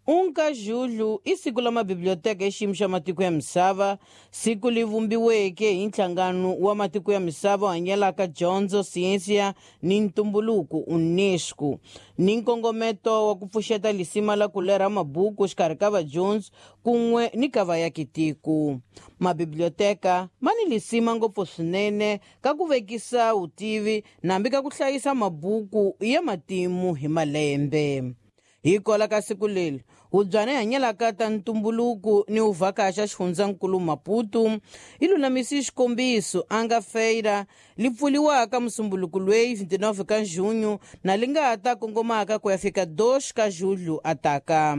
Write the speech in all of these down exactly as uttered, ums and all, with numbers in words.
um ka julho i siku la mabiblioteka xiyimo xa matiko ya misava, siku li vumbiweke hi nhlangano wa matiko ya misava hanyelaka dyondzo, siyensiya ni ntumbuluko UNESCO, ni nkongometo wa ku pfuxeta lisima la ku lerha mabuku xikarhi ka vadyondzi kun'we ni ka vayakitiko. Mabiblioteka ma ni lisima ngopfu swinene ka ku vekisa vutivi nambi ka ku hlayisa mabuku ya matimu hi malembe. Hi kola ka siku leri hubyana hanyelaka ta ntumbuluko ni uvhakaxa xifundzankulu Maputo yi lulamise xikombiso a nga feira li pfuliwaka musumbuluko lweyi vinte e nove ka junho na li nga ta kongomaka ku ya fika dois ka julho ataka.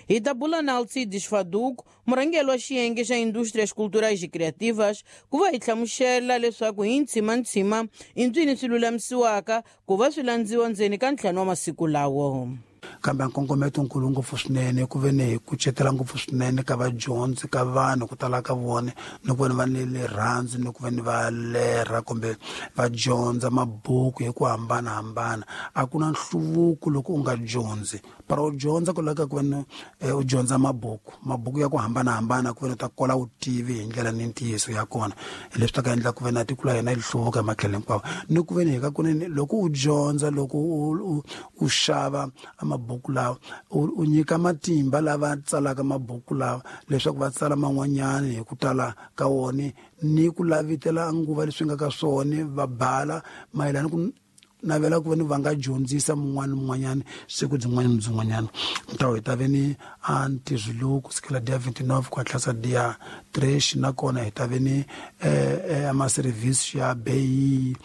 Hi ta bula na Alcides Faduco, murhangeri wa xiyenge xa Indústrias Culturais e Criativas, ku va hi hlamusela leswaku hi ntshima-ntshima i ntswini swi lulamisiwaka ku va swi landziwa ndzeni ka ntlhanu wa masiku lawo. Kambe nkongometo nkulu ngopfu swinene ku ve ni hi kucetela ngopfu swinene ka vadyondzi, ka vanhu ku tala ka vona, ni ku veni va ni rirhandzu ni ku veni va lerha kumbe va dyondza mabuku hi ku hambanahambana. A ku na nhluvuko loko u nga dyondzi, para u dyondza ku laveka ku veni u dyondza mabuku, mabuku ya ku hambanahambana, ku veni u ta kola vutivi hi ndlela ni ntiyiso ya kona. Hi leswi ta ka endla ku ve na tiko la hina yi hluvuka hi matlhelo hinkwawo. Ni ku veni hi ka kunene loko u dyondza, loko u u xava mabuku lawa, u nyika matimba lava tsalaka mabuku lawa leswaku va tsala man'wanyani hi ku tala ka wona, ni ku lavitela nguva leswi nga ka swona, va bala mayelana ku navela ku veni va nga dyondzisa mun'wana ni mun'wanyana siku byin'wana ni byin'wanyana. Ntawo hi ta ve ni a ntirho lowu kusukela dia vinte e nove ku hatlisa dia três. Nakona hi ta ve ni eh, ama-service ya beyi,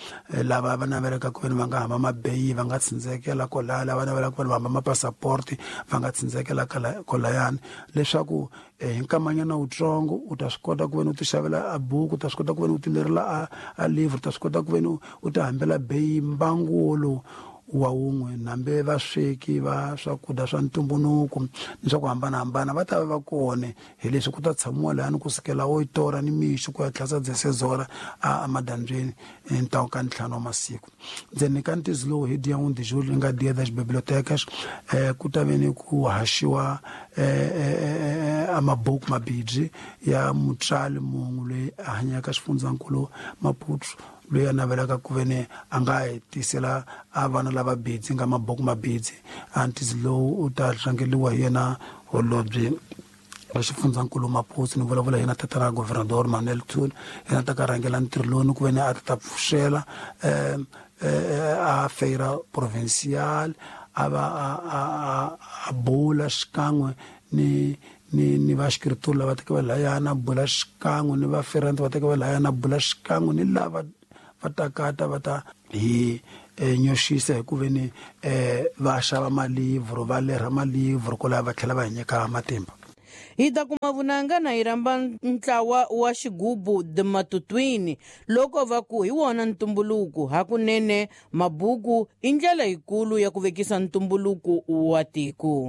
lava va navelaka ku veni va nga hamba mabeyi va nga tsindzekela kolaya, lava navelaka ku veni va hamba mapassaporti va nga tsindzekela kolayani, leswaku hi nkamanyana wutsongo u ta swi kota ku veni u ti xavela a buku, u ta swi kota ku veni u ti lerela a, a livre, u ta swi kota ku veni u ti hambela beyi mbangu wolowu wa wun'we. Nambe vasweki va swakudya swa ntumbuluko ni swa ku hambanahambana va ta va va kona. Hi leswi ku ta tshamiwa layani kusukela oitora ni mixo ku ya tlhasa dezesseis a emadyambyini ntawu ka ntlhanu wa masiku. Ndzeni ka ntizi lowu hi dia um de julho, nga Dia das Bibliotecas, eh, ku ta ve ni ku haxiwa eh, eh, a mabuku mabibyi ya mutswali mun'we loyi a hanyaka xifundzankulu Maputo, loyi a navelaka ku ve ni a nga hi tisela a vana lava bidzi nga mabuku mabidzi. A ntizi lowu u ta rhangeliwa hi yena holobye wa xifundzankulu Maputo, ni vulavula hi yena tatana Governador Manuel Thuli. Yena ta ka rhangela ntirho lowu ni ku ve ni a ta ta pfuxela um a feira provincial, a va a a a bula xikan'we ni ni ni va xikrituri lava teke va layana, bula xikan'we ni va ferante va teke va layana, bula xikan'we ni lava va takata va ta hi nyoxisa hi ku ve ni eh va xava malivhro, va lerha malivhro kwalaho, va tlhela va hi nyika matimba. Hi ta kuma vunanga na hi rhamba ntlawa wa xigubu The Matutwini loko va ku hi wona ntumbuluko. Hakunene mabuku i ndlela yikulu ya ku vekisa ntumbuluko wa tiko.